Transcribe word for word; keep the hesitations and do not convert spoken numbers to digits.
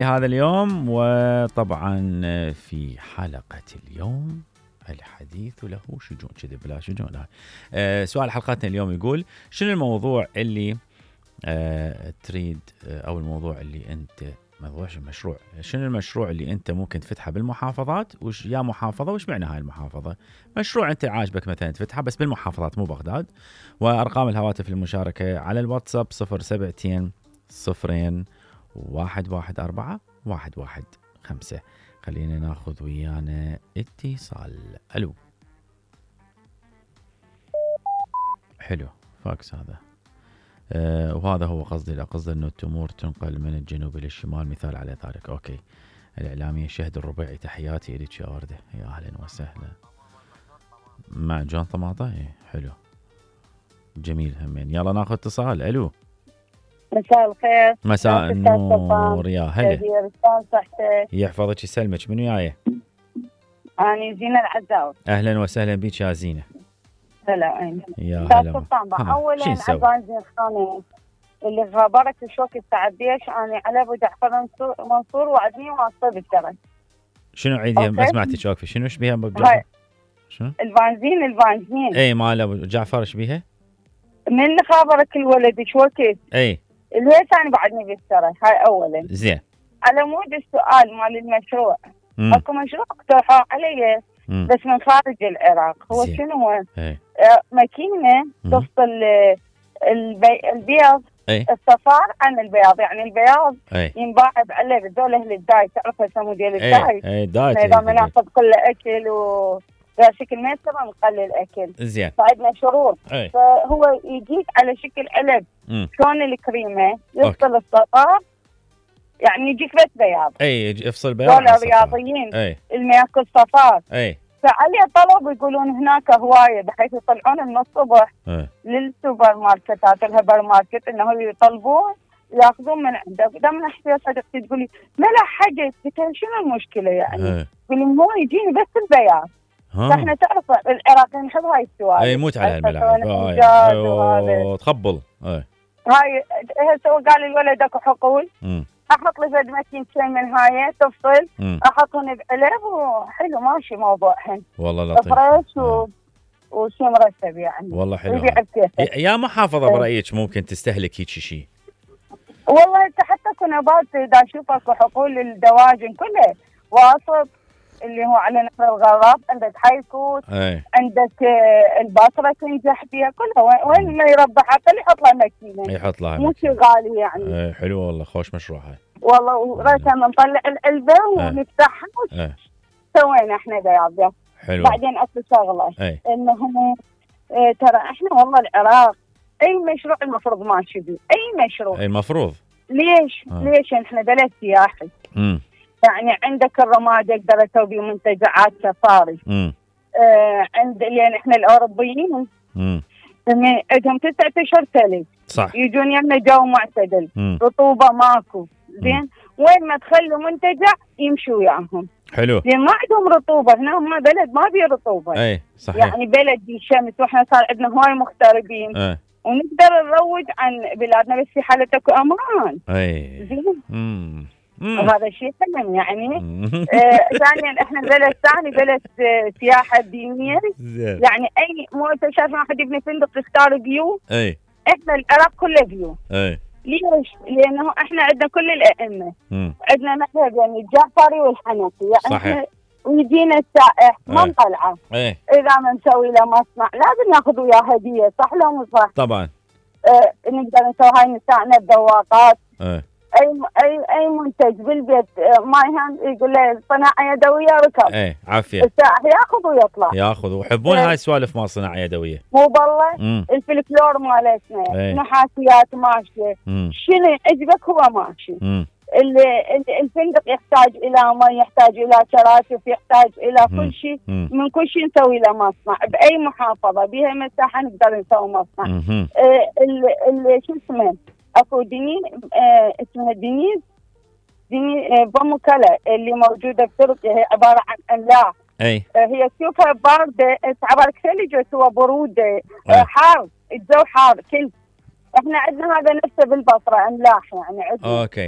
هذا اليوم. وطبعا في حلقة اليوم الحديث له شجون كذا بلا شجون. أه سؤال حلقتنا اليوم يقول شنو الموضوع اللي أه تريد أه او الموضوع اللي انت موضوع المشروع شنو المشروع اللي انت ممكن تفتحه بالمحافظات وش يا محافظة وش معنى هاي المحافظة. مشروع انت عاجبك مثلا تفتحه بس بالمحافظات مو بغداد. وارقام الهواتف للمشاركة على الواتساب صفر سبعتين صفرين واحد واحد أربعة واحد واحد خمسة. خلينا ناخذ ويانا اتصال. ألو. حلو فاكس هذا. أه وهذا هو قصدي لا قصدي انه التمور تنقل من الجنوب الى الشمال مثال على ذلك. اوكي. الاعلامية شهد الربيعي تحياتي الك يا وردة يا اهلا وسهلا. مع جون طماطة ايه حلو جميل همين. يلا ناخذ اتصال. الو. مساء الخير. مساء النور يا هلا. صحتك يحفظك يسلمك. منو جايه؟ أنا زينة العزاوي. اهلا وسهلا بك يا زينة. هلا وين يا هلا. اولا عزازي خاني اللي خبرك شو كنت تعديش انا على ابو جعفر منصور وعدني واصل بالدرج. شنو عيدي ما سمعتك واقفه. شنو ايش بيها ابو جعفر؟ شنو؟ البنزين البنزين اي مال ابو جعفر ايش بيها؟ من خبرك الولد شو وقت؟ اي ليش انا بعدني بالدرج هاي اولا. زين. على مود السؤال مال المشروع. مم. اكو مشروع اقترحوا علي مم. بس من خارج العراق. هو زين. شنو هو؟ اي ماكينه تفصل البي... البياض أي. الصفار عن البياض يعني البياض أي. ينباع بعلب ذول اهل الداي تعرف هسه موديل الداي. اي داي اذا بناخذ كل اكل و شكل ما يصير نقلل اكل. زين. فعندنا شروط. أي. فهو يجيك على شكل علب شلون الكريمه يفصل الصفار يعني يجيك بس بياض. اي يفصل بياض. ذول الرياضيين اللي ياكل صفار. اي فعليه طلب يقولون هناك هوايه بحيث يطلعون من الصبح أي. للسوبر ماركتات الهبر ماركت انه يطلبون ياخذون من عندك. دام نحكي صديقتي تقولي ما لا حاجه شنو المشكله يعني؟ تقولي مو يجيني بس البياض. فاحنا تعرف العراقيين نحب هاي السوالف. اي موت على هالملاعب تخبل. اي هاي هسه قال الولد اكو حقول م. احط لي فد ماكينتين من هاي تفصل احطهم بعلب وحلو ماشي موضوعهن. والله لطيف. فريش و... وشي مرتب يعني. والله حلو. يا محافظة برأيك ممكن تستهلك هيك شيء؟ والله انت حتى كنبات اذا اشوف اكو حقول الدواجن كلها واسط اللي هو على نهر الغراب عندك حيكوت أي. عندك البصرة تنجح فيها كلها وين ما يربح حتى اللي يحط لها ماكينة يحط لها مو شيء غالي يعني. اي حلو والله خوش مشروع هاي. والله وريتها نطلع العلبة ونفتحها سوينا احنا بياض. حلو. بعدين اكو شغله أي. انه اه ترى احنا والله العراق اي مشروع المفروض ماشي بيه اي مشروع. اي المفروض. ليش؟ آه. ليش احنا بلد سياحي. امم يعني عندك الرماد يقدر يسوي بيه منتجعات سفاري. امم آه عند لان احنا الاوروبيين امم عندهم تسعة اشهر ثلج. صح. يجون يمنا جو معتدل. مم. رطوبه ماكو. زين وين ما تخلوا منتجع يمشوا وياهم. حلو. لان ما عندهم رطوبه هنا ما بلد ما بيه رطوبه. اي صحيح. يعني بلد دي شمس واحنا صار عندنا هواي مغتربين. اي. ونقدر نروج عن بلادنا بس في حالة اكو امان. اي. زين. امم وهذا الشيء حلم يعني. ثانيا آه احنا بلد ثاني بلد آه سياحه دينيه. يعني اي مو انت شايف واحد يبني فندق يختار بيو. اي. احنا العراق كله بيو. اي. ليش؟ لانه احنا عندنا كل الائمه. مم. عندنا مذهب يعني الجعفري والحنفي يعني. صحيح. ويجينا السائح ما نطلعه. ايه. اذا ما نسوي له مصنع لازم ناخذ وياه هديه صح لو مو صح؟ طبعا. آه نقدر نسوي هاي نسائنا بذواقات. ايه. اي اي اي منتج بالبيت ما يهم يقول له صناعه يدويه ركب. ايه عافيه. السائح ياخذ ويطلع. ياخذ ويحبون هاي السوالف مال صناعه يدويه. مو بالله الفلكلور مالتنا. ايه. نحاسيات ماشيه. شنو عجبك هو ماشي. مم. الفندق يحتاج الى ما يحتاج الى شراشف يحتاج الى مم. كل شيء. مم. من كل شيء نسوي له مصنع باي محافظه بها مساحه نقدر نسوي مصنع. آه شو اسمه اكو دنين آه اسمها دنيز دنيز آه بمكلا اللي موجوده بتركيا هي عباره عن املاح. اي. آه هي تشوفها بارده تعبر ثلج وسوى بروده. آه حار الجو حار كل. احنا عندنا هذا نفسه بالبصره املاح يعني عندنا. اوكي.